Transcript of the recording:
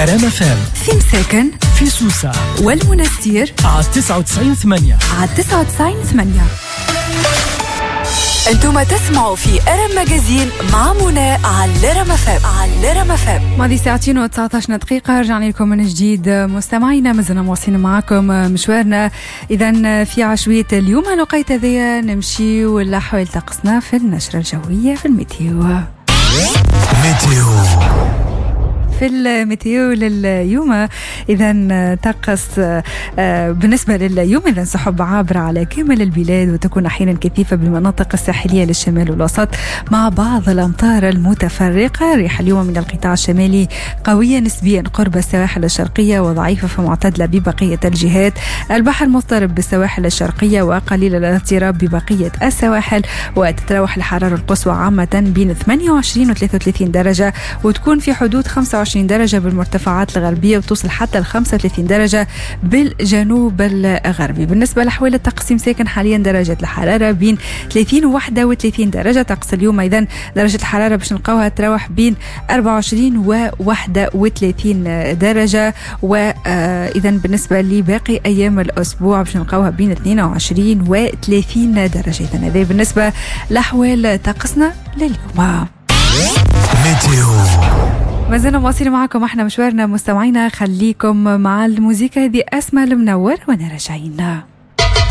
ار ام اف ام في مساكن، في سوسة والمنستير على 99.8. على 99.8. انتم تسمعوا في ارم magazine مع منى على الرم اف ام. على الرم اف ام. ماضي ساعتين و19 دقيقة، رجعنا لكم من جديد مستمعينا، مازلنا مواصلين معاكم مشوارنا. إذا في عشوية اليوم الوقيت هذايا نمشيو لأحوال طقسنا في النشرة الجوية في ال météo. météo. في ال météo لليوم إذا طقس بالنسبة لليوم إذا سحب عابرة على كامل البلاد وتكون أحيانا كثيفة بالمناطق الساحلية للشمال والوسط مع بعض الأمطار المتفرقة. ريح اليوم من القطاع الشمالي قوية نسبيا قرب السواحل الشرقية وضعيفة فمعتدلة ببقية الجهات. البحر مضطرب بالسواحل الشرقية وقليل الاضطراب ببقية السواحل، وتتراوح الحرارة القصوى عامة بين 28 و 33 درجة وتكون في حدود 25 درجة بالمرتفعات الغربية وتوصل حتى ل 35 درجة بالجنوب الغربي. بالنسبة لأحوال الطقس ساكن حاليا درجة الحرارة بين 30 و 31 درجة. طقس اليوم أيضا درجة الحرارة باش نلقاوها تراوح بين 24 و 31 درجة، وإذا بالنسبة لباقي أيام الأسبوع باش نلقاوها بين 22 و 30 درجة. إذا هذا بالنسبة لأحوال طقسنا لليوم. météo. ما زلنا مواصلين معكم احنا مشوارنا مستمعينا، خليكم مع الموسيقى هذه أسماء المنور وانا راجعين.